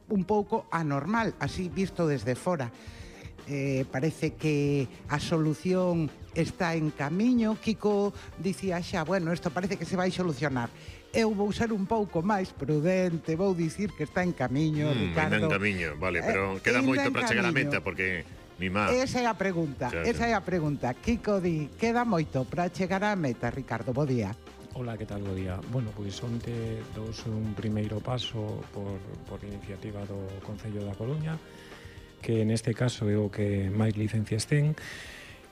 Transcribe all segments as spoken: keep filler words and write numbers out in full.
un pouco anormal, así visto desde fora. Eh, parece que a solución está en camiño. Kiko dicía xa, bueno, isto parece que se vai solucionar. Eu vou ser un pouco máis prudente, vou dicir que está en camiño, mm, Ricardo. Ainda en camiño, vale, pero eh, queda moito para chegar á meta, porque mi má... Esa é a pregunta, xa, esa xa. é a pregunta. Kiko di, queda moito para chegar á meta, Ricardo, bo día. Hola, que tal, bo día? Bueno, pois onte douse un primeiro paso por, por iniciativa do Concello da Coruña, que neste caso é o que máis licencias ten,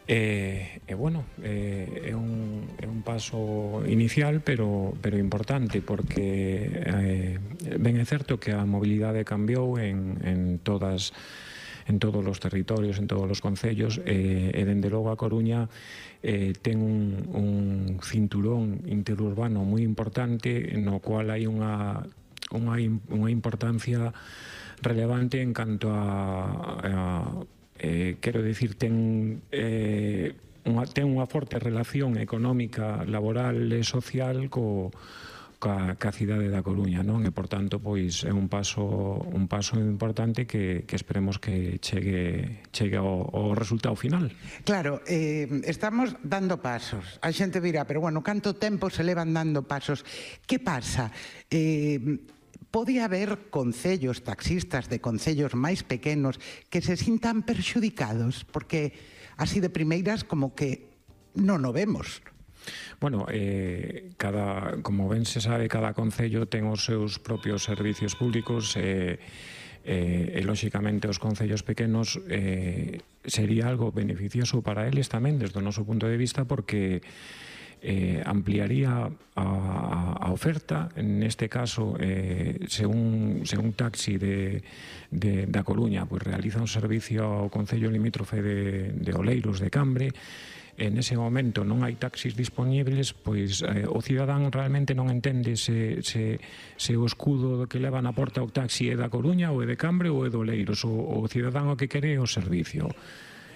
e, e bueno, é, é, un, é un paso inicial, pero, pero importante, porque eh, ben é certo que a mobilidade cambiou en, en todas en todos os territorios, en todos os concellos, e, e dende logo a Coruña eh, ten un, un cinturón interurbano moi importante, no cual hai unha, unha, unha importancia relevante en canto a, a eh, quero dicir, ten eh, unha, ten unha forte relación económica, laboral e social co Ca, ca cidade da Coruña, non? E, por tanto, pois é un paso un paso importante que, que esperemos que chegue chegue ao, ao resultado final. Claro, eh, estamos dando pasos. A xente dirá, pero bueno, canto tempo se levan dando pasos? Que pasa? Eh, pode haber concellos, taxistas de concellos máis pequenos que se sintan perxudicados, porque así de primeiras como que non o vemos. Bueno, eh, cada, como ben se sabe, cada concello ten os seus propios servicios públicos e, e, e lóxicamente, os concellos pequenos eh, sería algo beneficioso para eles tamén, desde o noso punto de vista, porque eh, ampliaría a, a oferta. Neste caso, eh, se, un, se un taxi de, de, da Coruña pues, realiza un servicio ao concello limítrofe de, de Oleiros, de Cambre, en ese momento non hai taxis disponibles, pois eh, o cidadán realmente non entende se, se, se o escudo que leva na porta o taxi é da Coruña ou é de Cambre ou é do Oleiros. O, o cidadán o que quere é o servicio.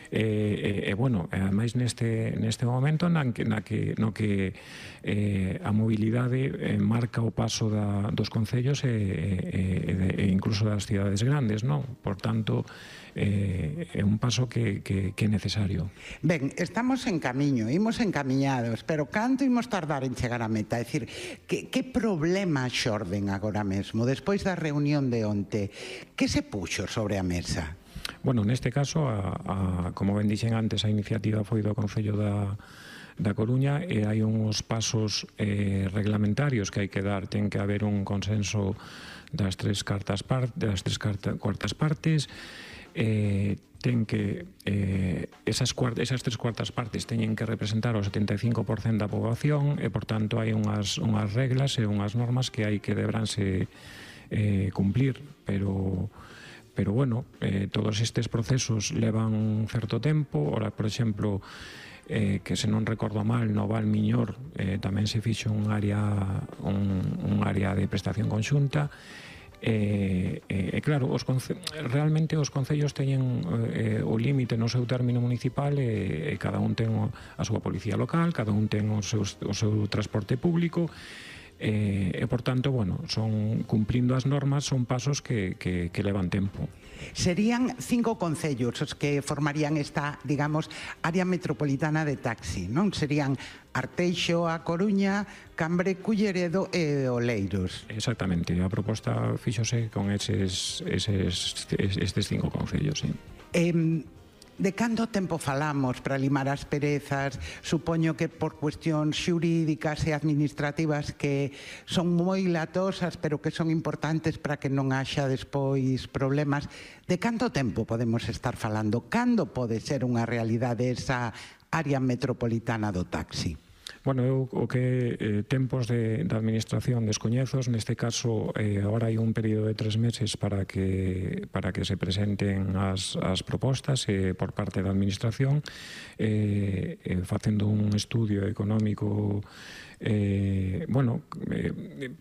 E, e, e bueno, ademais neste, neste momento na que, na que, no que eh, a mobilidade eh, marca o paso da, dos concellos e, e, e, e incluso das cidades grandes, non? Por tanto, eh, é un paso que, que, que é necesario. Ben, estamos en camiño, imos encamiñados, pero canto imos tardar en chegar á meta? É dicir, que, que problema xorden agora mesmo, despois da reunión de onte? Que se puxo sobre a mesa? Bueno, neste caso, a, a, como ben dixen antes, a iniciativa foi do Concello da, da Coruña e hai uns pasos eh, reglamentarios que hai que dar. Ten que haber un consenso das tres cartas par, das tres carta, cuartas partes, eh, ten que eh, esas, cuart, esas tres cuartas partes teñen que representar o setenta e cinco por cento da poboación e, por tanto, hai unhas, unhas reglas e unhas normas que hai que deberánse eh, cumplir, pero... Pero, bueno, eh, todos estes procesos levan un certo tempo. Ora, por exemplo, eh, que se non recordo mal, no Val Miñor eh, tamén se fixo un área, un, un área de prestación conxunta. E, eh, eh, claro, os realmente os concellos teñen eh, o límite no seu término municipal e, e cada un ten a súa policía local, cada un ten o seu, o seu transporte público. E, e, por tanto, bueno, son cumplindo as normas, son pasos que, que, que levan tempo. Serían cinco concellos os que formarían esta, digamos, área metropolitana de taxi, non? Serían Arteixo, A Coruña, Cambre, Culleredo e Oleiros. Exactamente, a proposta fíxose con eses, eses, estes cinco concellos, sí. Eh, De canto tempo falamos para limar as perezas? Supoño que por cuestións xurídicas e administrativas que son moi latosas, pero que son importantes para que non haxa despois problemas. De canto tempo podemos estar falando? Cando pode ser unha realidade esa área metropolitana do taxi? Bueno, eu o que eh, tempos de, de administración descoñezos, neste caso eh, agora hai un período de tres meses para que para que se presenten as, as propostas eh, por parte da administración, eh, eh, facendo un estudio económico, eh, bueno, eh,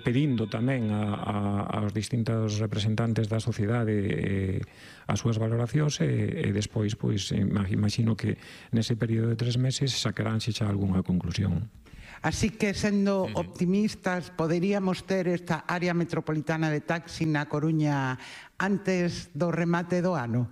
pedindo tamén a, a, aos distintos representantes da sociedade eh, as súas valoracións e, e despois, pois, imagino que nese período de tres meses sacaránse xa algunha conclusión. Así que, sendo uh-huh. optimistas, poderíamos ter esta área metropolitana de taxi na Coruña antes do remate do ano?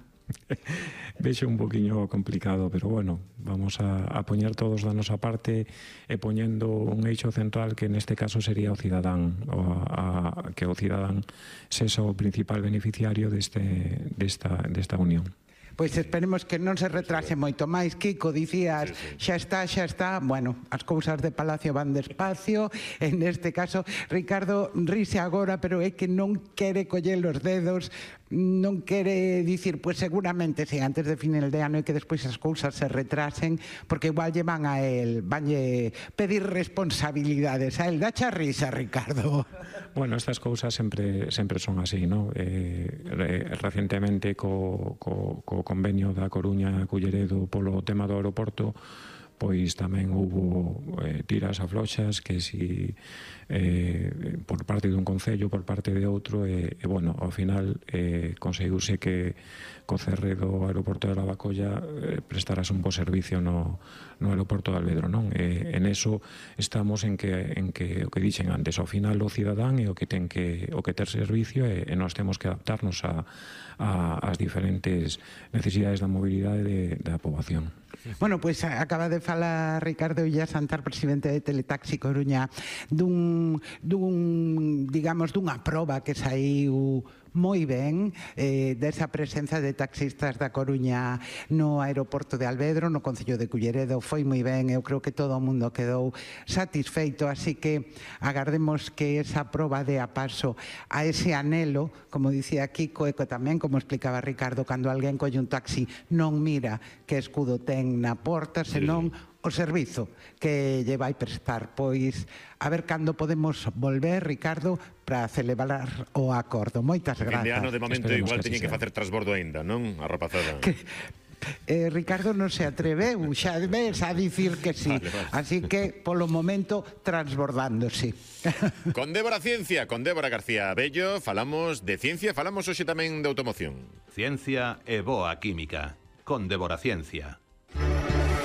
Vexo un poquinho complicado, pero bueno, vamos a, a poñer todos da nosa parte e poñendo un eixo central que neste caso sería o cidadán, o a, a, que o cidadán sexa o principal beneficiario deste, desta, desta unión. Pois esperemos que non se retrase moito máis. Kiko, dicías, xa está, xa está. Bueno, as cousas de Palacio van despacio. En este caso, Ricardo rise agora, pero é que non quere coller os dedos, non quere dicir, pois seguramente si antes de final de ano e que despois as cousas se retrasen, porque igual lle van a él, vanlle pedir responsabilidades a él. Dacha risa, Ricardo. Bueno, estas cousas sempre sempre son así, ¿no? Eh, recentemente co, co, co convenio da Coruña Culleredo polo tema do aeroporto, pois tamén houbo eh, tiras afloxas que si eh, por parte dun concello, por parte de outro, e, e bueno, ao final eh, conseguiuse que co cerre do aeroporto de Lavacolla eh, prestarase un bo servicio no, no aeroporto de Alvedro, non? E en eso estamos en que, en que o que dixen antes, ao final o cidadán é o que ten que o que ter servicio e, e nós temos que adaptarnos a, a, as diferentes necesidades da mobilidade de, da poboación. Bueno, pois acaba de falar Ricardo Illa Santar, presidente de Teletaxi Coruña, dun, dun digamos, dunha proba que saiu moi ben eh, desa presenza de taxistas da Coruña no aeroporto de Alvedro, no concello de Culleredo. Foi moi ben, eu creo que todo o mundo quedou satisfeito, así que agardemos que esa proba de a paso a ese anhelo, como dicía Kiko, e que tamén, como explicaba Ricardo, cando alguén colle un taxi non mira que escudo ten na porta, senón o servizo que lle vai prestar. Pois a ver cando podemos volver, Ricardo, para celebrar o acordo. Moitas grazas. Fin de ano, de momento, igual teñen que facer transbordo aínda, non? A rapazada. Que, eh, Ricardo non se atreveu, xa ves, a dicir que sí. Vale, vale. Así que, polo momento, transbordándose. Con Débora Ciencia, con Débora García Bello, falamos de ciencia, falamos hoxe tamén de automoción. Ciencia e boa química, con Débora Ciencia.